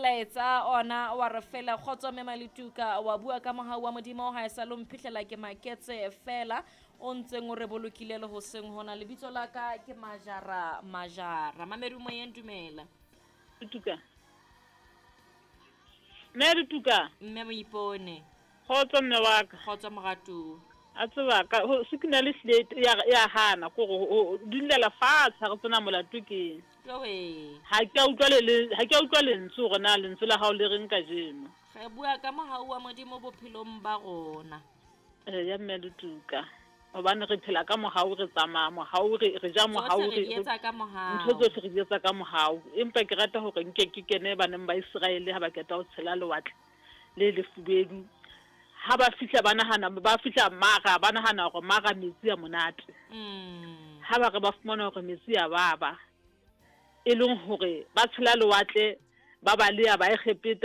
Molaetsa ona wa re fela kgotso mme Maletuka wa bua ka mohau wa Modimo ha e sa lo mphihlela ke maketse fela o ntseng o re bolokile le hoseng hona. Lebitso la ka ke Majara Majara. Mamedi moyeng dumela. Letuka. Mme Letuka. Mme Moipone. Kgotso mme wa ka. Kgotso moratuwa. A tseba ka ho signal ehlile ya ya hana ko go dulela fatshe ha re tsena molato ke. Jowe. Ha ke a utlwa le ha ke a utlwa lentswe hore na lentswe la hao le reng kajeno. Re bua ka mohau wa Modimo bophelong ba rona. Eya mme Letuka. Hobane re phela ka mohau re tsamaya mohau re re ja mohau re di etsa ka mohau. Ntho tsohle re di etsa ka mohau. Empa ke rata hore nke ke kene baneng ba Iseraele ha ba qeta ho tshela lewatle le lefubedu. Ha ba fihla ba nahana ba fihla Mara ba nahana hore Mara metsi a monate. Ha ba re ba fumana hore metsi a baba. E leng hore ba tshela lewatle ba baleha ba Egepeta.